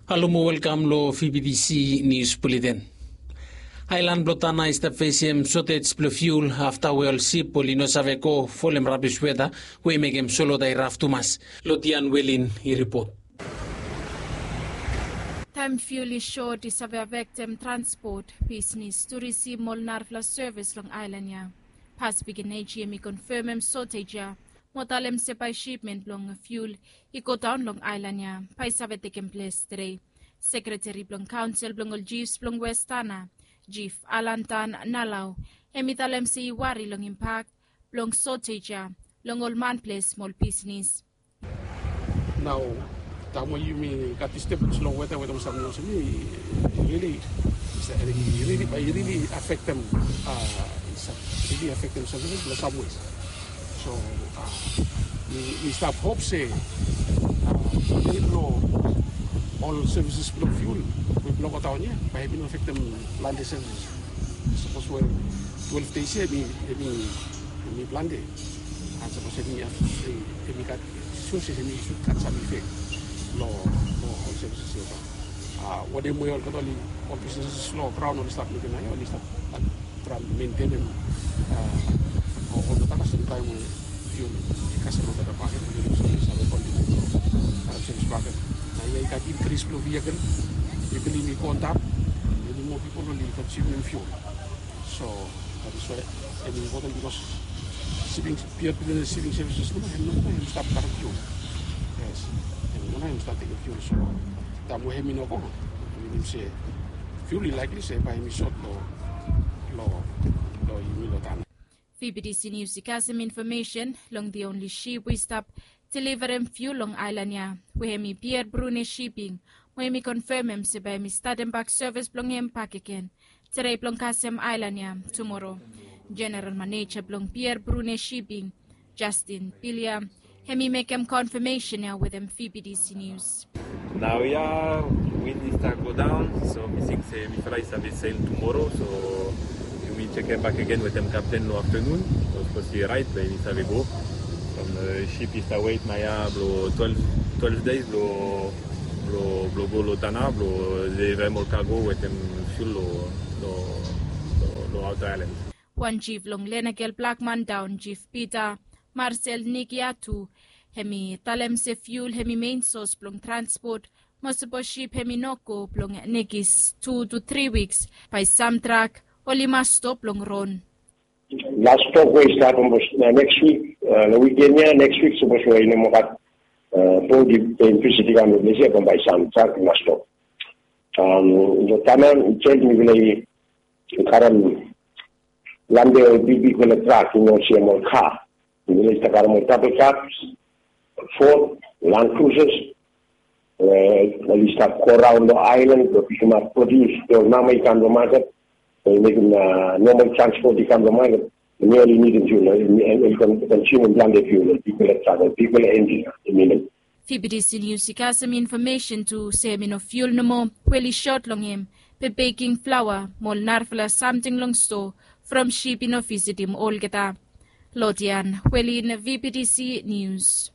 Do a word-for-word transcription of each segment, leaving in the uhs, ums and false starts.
Halo mo welkam lo V B T C News Bulletin. Aelan blo Tanna i stap fesem sotej blo fiul afta we ol sip oli no save go folem rabis weta we i mekem solota i raf tumas. Lo Dian Welin i ripot. Taem fiul i sot i save afektem transpot, bisnis, turisim, ol narafala sevis long aelan ya. Pacific Energy hem i konfemem sotej ya mo talem se bae sipmen blong fiul i godaon long aelan ya bae i save tekem ples tede. Sekreteri blong kaonsel blong ol jifs blong Wes Tanna, Jif Alan Dan Nalau, hem i talem se i wari long impak blong sotej ya long ol manples mo ol bisnis. Nao taem we yumi gat distabens long weta, weta we samting olsem i rili, i rili, i rili afektem, a, i rili afektem sevis long sam we. So, a, mi, mi stap hop se, a, dei blo ol sevis blo fiul we blo godaon ya bae i no afektem plante sevis. Sapos we twelve dei ya hem i, hem i, hem i plante. An sapos hem i, hem i gat, sua se hem i sud gat sam ifek lo, lo ol sevis ya. A, wanem we olgeta oli, ol bisnis lo graon oli stap mekem nao ya, oli stap traem mentenem, a, olgeta kasem taem we fiul i kasem olgeta bakegen, oli save kontiniu lo karem sevis bakegen. Nao ya i gat inkris blo vehikel, vehikel i go antap, i nid moa pipol oli konsumem fiul. So that is why hem i impoten bikos siping, pier bilong siping sevises nomo hem nomo hem i stap karem fiul. Yes, hem nomo hem i stap tekem fiul. So taem we hem i no go, minim se fiul i likely se bae hem i sot lo, lo, lo yumi lo Tanna. V B T C News i kasem infomesen long the only ship we i stap deliverem fiul long aelan ya, we hem i Pier Brune Shipping, mo hem i konfemem se bae hem i statem bak sevis blong hem bakegen. Tede blong kasem aelan ya tumoro. Jeneral Maneja blong Pier Brune Shipping, Justin Pilia, hem i mekem konfemesen ya wetem V B T C News. Naoia win i stap godaon, so mi ting se mifala i save sel tumoro, so yumi jekem bakegen wetem kapten lo aftenun. Of course i raet, be mi save go. From, e, sip i stap wet naoia blo twelve, twelve dei blo, blo, blo go lo Tanna blo deliverem ol kago wetem fiul lo, lo, lo, lo aota aelan. Wan jif long Lenakel Blakman Daon, Jif Pita Marsel Nikiatu, hem i talem se fiul hem i mein sos blong transpot, mo sapos sip hem i no go blong nekis tu tu tri wiks, bae sam trak oli mas stop long ron. Las tok we i stap, neks wik, long wiken ya, neks wik sapos we i no moa gat bot i visit i kam long ples ya, bae sam trak i mas stop. Long Tanna itself mifala i karem plante ol bigbigfala trak, i no olsem ol ka. Mifala i stap karem ol double cabs, Ford, Land Cruisers, we oli stap go raon long aelan blong pikimap produs we ol mama i kam long maket, we i mekem nomal transpot i kam long maket. Hemia oli nidim fiul, oli konsumim plante fiul, ol bigfala trak, ol bigfala enjin i nidim. V B T C News i kasem infomesen tu se hem i no fiul nomo we oli sot long hem, be beking flaoa mo ol narafala samting long stoa from sip i no visitim olgeta. Lodian Welin, V B T C News.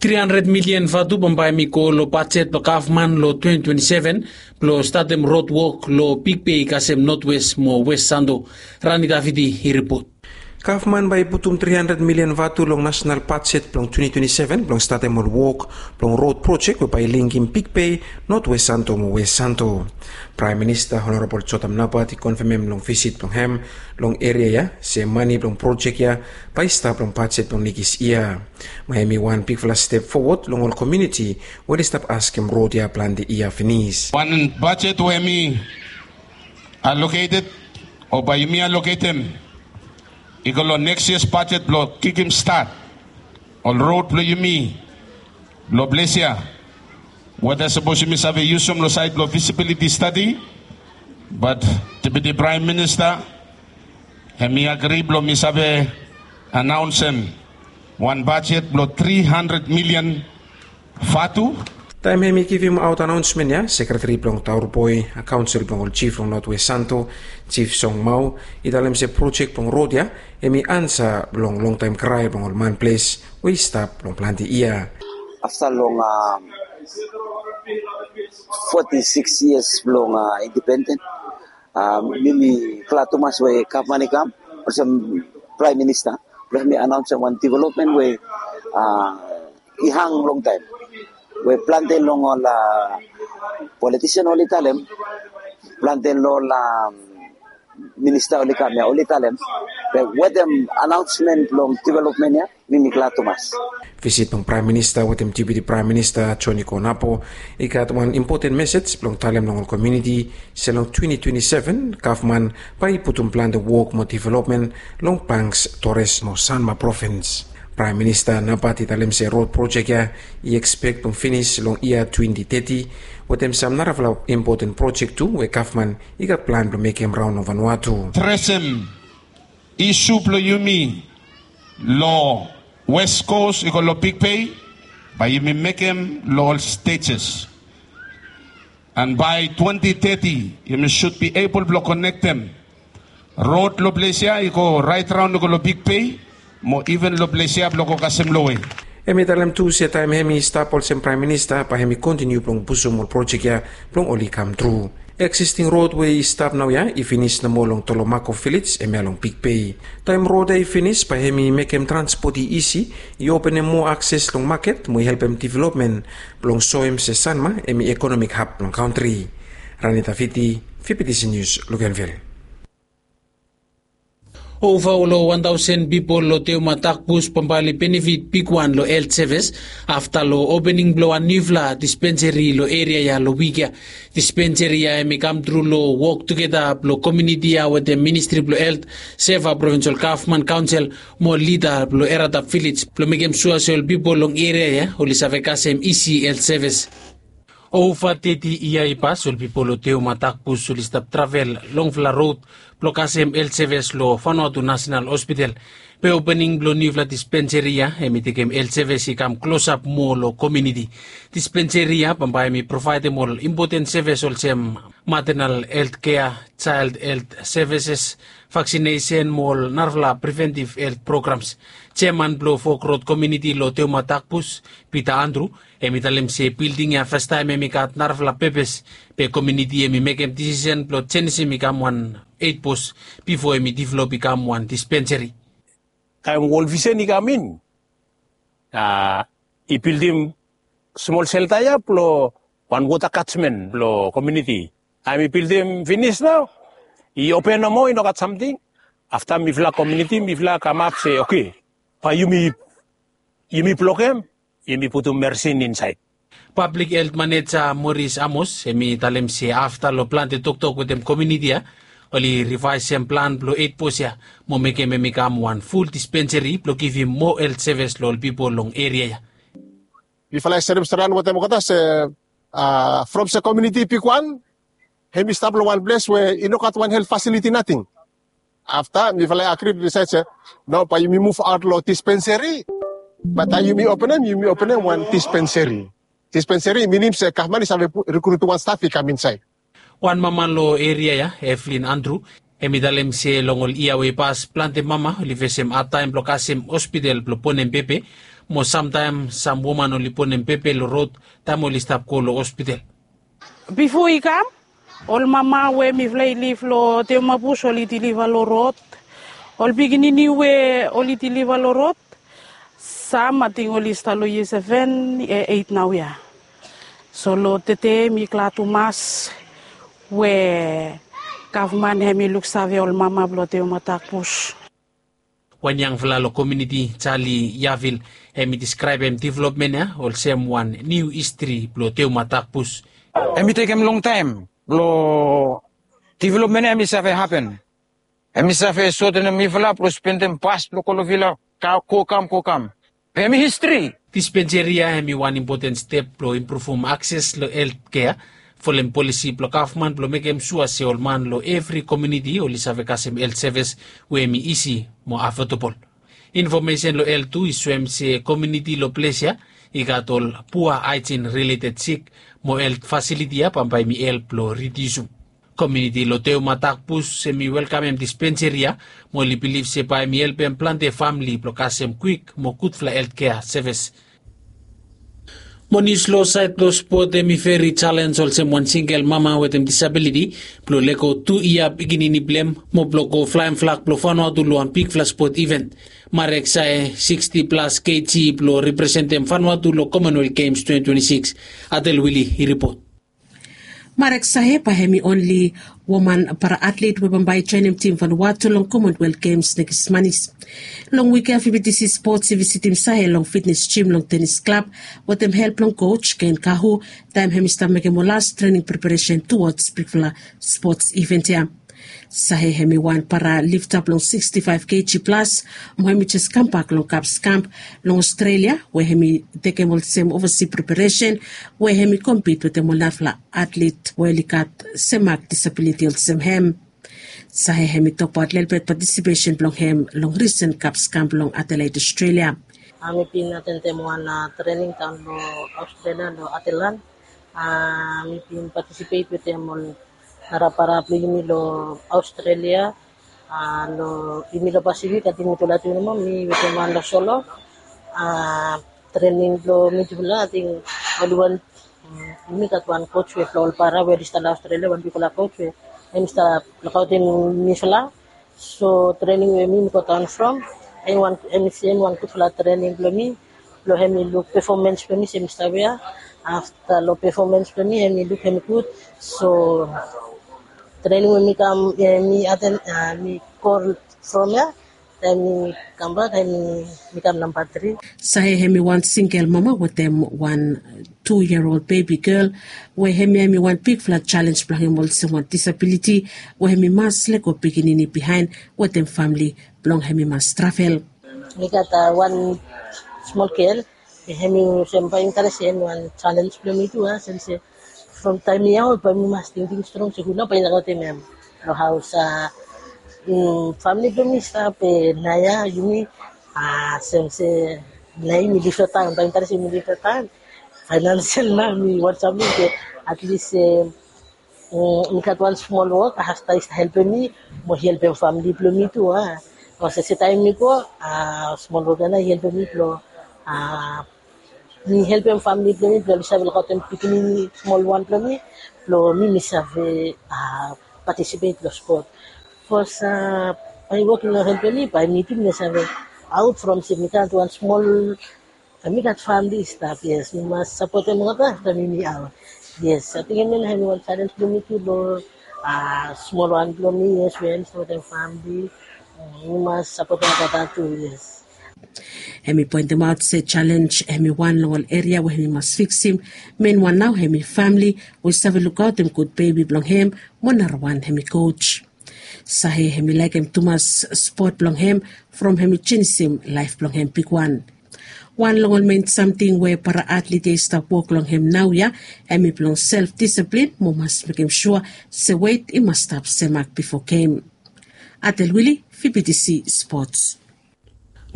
Tri handred milian vatu bambae hem i go lo bajet blo gavman lo twenty twenty seven blo statem rod wok lo Big Bay kasem Notwes mo Wes Santo. Rani Davidi i ripot. Gavman bae i putum tri handred milian vatu long nasonal bajet blong twenty twenty seven blong statem ol wok blong rod projek we bae i linkim Big Bay, Notwes Santo mo Wes Santo. Praem Minista Honorabol Jotam Napat i konfemem long visit blong hem long eria ya se mane blong projek ya bae i stap long bajet blong nekis yia. Mo hem i wan bigfala step fowod long ol komuniti we oli stap askem rod ya plante yia finis. Wan bajet we hem i aloketed o bae yumi aloketem i go long neks yia bajet blong kikim stat ol rod blong yumi long ples ya. Weta sapos yumi save yusum long saed blong visibiliti stadi, bat Deputi Praem Minista hem i agri blong mi save anaonsem wan bajet blong tri handred milian vatu. Taem hem i givimaot anaonsmen ya, sekreteri blong Taur Boi, kaonsel blong ol jif long Notwes Santo, Jif Song Mau, i talem se projek blong rod ya hem i ansa blong longtaem krae blong ol manples we i stap long plante yia. Afta long, a, Foti sikis yias blong indipenden. Mi mi glad tumas we gavman i kam olsem praem minista blong hem i anaonsem wan developmen we i hang longtaem, we plante long ol politisen oli talem, plante long ol minista oli kam ya oli talem. Be wetem anaonsmen blong developmen ya, mi mi glad tumas. Visit blong praem minista wetem deputi praem minista Joni Konapo i gat wan impoten mesej blong talem long ol komuniti se long twenti twenti seven gavman bae i putum plante wok mo developmen long Banks, Torres mo Sanma provins. Praem minista naobat i talem se rod projek ya i ekspek blong finis long yia twenti teti, wetem sam narafala impoten projek tu we gavman i gat plan blong mekem raon long Vanuatu. Tresem isu blong yumi long West Coast i go long Big Bay, bae yumi mekem long ol stejes. And by twenty thirty yumi should be able blong konektem rod long ples ya i go raet raon i go long Big Bay, mo iven long ples ya blong go kasem lowe. Hem i talem tu se taem hem i stap olsem praem minista bae hem i kontiniu blong pusum ol projek ya blong oli kamtru. Eksisting rod we i stap naoia i finis nomo long Tolomako vilej, hemia long Big Bay. Taem rod ya i finis bae hem i mekem transpot i isi, i openem moa akses long maket mo i helpem developmen blong soem se Sanma hem i ekonomik hab blong kantri. Ranita Fiti, V B T C News, Luganville. Ova long wan taosen pipol long Teoma Takbus bambae oli benefit bigwan long helt sevis afta long opening blong wan niufala dispenseri long eria ya long wik ya. Dispenseri ya hem i kamtru long wok tugeta blong komuniti ya wetem Ministri blong Helt, Seva Provinsol Gavman Kaonsel mo lida blong Eratap Vilej blong mekem sua se ol pipol long eria ya oli save kasem isi helt sevis. Ova teti yia i pas ol pipol long Teoma Takbus oli stap travel longfala rod blong kasem helt sevis long Vanuatu Nasenal Hospital. Be opening blong niufala dispenseri ya hem i tekem helt sevis i kam klosap moa long komuniti. Dispenseri ya bambae hem i provaedem ol impoten sevis olsem matenal helt kea, jael helt sevises, vaksinesen mo ol narafala preventiv helt programs. Jeaman blong Fok Rod komuniti long Teoma Takbus, Pita Andru, hem i talem se bilding ya fastaem hem i gat narafala pepes, be komuniti hem i mekem disisen blong jenisim i kam wan eit bos bifo hem i develop i kam wan dispenseri. Taem World Vision i kam in, a, i bildim smol selta ya blong wan wota katmen blong komuniti. Taem i bildim finis nao, i open nomo, i no gat samting. Afta mifala komuniti mifala kamap se oke, bae yumi, yumi blokem, yumi putum mersin insaed. Pablik helt maneja Moris Amos hem i talem se afta long plante toktok wetem komuniti ya, oli rivaesem plan blong eit bos ya mo mekem hem i kam wan ful dispenseri blong givim moa helt sevis long ol pipol long eria ya. Mifala i serem stret wetem olgeta se, a, from se komuniti bigwan hem i stap long wan ples we i no gat wan helt fasiliti nating. Afta mifala i agri blong disaed se nao bae yumi muv aot long dispenseri. Be taem yumi openem, yumi openem wan dispenseri. Dispenseri i minim se gavman i save rikrutum wan staf i kam insaed. Wan mama long eria ya, Evelyn Andru, hem i talem se long ol yia we i pas plante mama oli fesem adtaem blong kasem hospital blong bonem pepe, mo samtaem sam woman oli bonem pepe long rod taem oli stap go long hospital. Bifo i kam, ol mama we mifala i liv long Teoma Bus oli diliva long rod. Ol pikinini we oli diliva long rod, sam ating oli stap long yia seven, eit naoia. So long tede mi glad tumas we gavman hem i luksave ol mama blong Teoma Takbus. Wan yangfala long komuniti, Jali Yavil, hem i deskraebem developmen ya olsem wan niu histri blong Teoma Takbus. Hem i tekem longtaem blong developmen ya hem i save hapen. Hem i save sotenem mifala blong spendem bas blong go long vila, go kam, go kam. Hem i histri. Dispenseri ya hem i wan impoten step blong impruvum akses long helt kea, folem polisi blong gavman blong mekem sua se ol man long evri komuniti oli save kasem helt sevis we hem i isi mo afodabol. Infomesen long helt tu i soem se komuniti long ples ya i gat ol pua haejin rileted sik, mo helt fasiliti ya bambae hem i help blong ridiusum. Komuniti long Teoma Takbus hem i welkamem dispenseri ya, mo oli bilif se bae hem i helpem plante famle blong kasem kwik mo gudfala helt kea sevis. Mo nius long saed blong spot, hem i veri jalens olsem wan singel mama wetem disabiliti blong lego tu yia pikinini blong hem mo blong go flaem flag blong Vanuatu long wan bigfala spot iven. Marek Sae, siksti plas kg, blong representem Vanuatu long Commonwealth Games twenty twenty-six. Atel Wili i ripot. Marek Sae bae hem i onli woman para atlet we bambae i joenem tim Vanuatu long Commonwealth Games nekis manis. Long wik ya, VBTC Sports i visitim Sae long fitnes jim long tenis klab wetem help blong koj Ken Kahu, taem hem i stap mekem ol las trening preparesen tuwods bigfala spots iven ya. Sae hem i wan para lifta blong siksti faef kg plas, mo hem i jes kambak long Kaps kamp long Australia we hem i tekem olsem ovasi preparesen we hem i kompit wetem ol narafala atlet we oli gat sem mak disabiliti olsem hem. Sae hem i tokbaot lelebet patisipesen blong hem long risen Kaps kamp long Adelaide, Australia. Mi bin atendem wan trening daon long Australia long Adelaide. Mi bin patisipet wetem ol narapara blong yumi long Australia. Long yumi long Pasifik ating mitufala tu nomo, mi wetem wan long solo. Trening blong mitufala ating oli wan, yumi gat wan koj we blong ol para we oli stap long Australia, wan bigfala koj we hem i stap lukaotem mifala. So trening we mi mi godaon from, hem i wan, hem i sem wan gudfala trening blong mi, blong hem i luk pefomens blong mi se mi stap ya. Afta long pefomens blong mi hem i luk hem i gud. So trening we mi kam, mi aten, mi go from ya, taem mi kambak hem i, mi kam namba tri. Sae hem i wan singel mama wetem wan tu yia ol bebi gel, we hem ya hem i wan bigfala jalens blong hem olsem wan disabiliti we hem i mas lego pikinini biaen wetem famle blong hem i mas travel. Mi gat wan smol gel, hem i olsem bae interes hem i wan jalens blong mi tu, a, sem se from taem mi yaon bae mi mas tingting strong se hu nao bae i lukaotem hem long haos. Famle blong mi i stap naoia, yumi, sem se naoia yumi lif long taon, bae interes yumi lif long taon. Faenansial nao mi wantem se atlis mi gat wan smol wok, afta i stap helpem mi mo i helpem famle blong mi tu, a. Olsem se taem mi go, smol wok ya nao i helpem mi blong mi helpem famle blong mi blong oli save lukaotem pikinini smol wan blong mi, blong mi mi save patisipet long spot. Bikos bae i wok i no helpem mi, bae mi tu mi no save aot from se mi gat wan smol, mi gat famle i stap, yes, mi mas sapotem olgeta afta mi mi aot. Yes, ating hemia nao hem i wan jalens blong mi tu long smol wan blong mi, yes, we hem i sapotem famle. Mi mas sapotem olgeta tu, yes. Hem i poentemaot se jalens hem i wan long ol eria we hem i mas fiksim. Menwan nao hem i famle we i save lukaotem gud bebi blong hem, mo narawan hem i koj. Sae hem i laekem tumas spot blong hem from hem i jenisim laef blong hem bigwan. Wan long ol men samting we para atlet ya i stap wok long hem naoia hem i blong self disiplin mo mas mekem sua se wet i mas stap semak bifo gem. Atel Wili, VBTC Spots.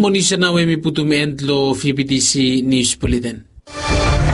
Mo nius ya nao hem i putum en long VBTC Nius Buleten.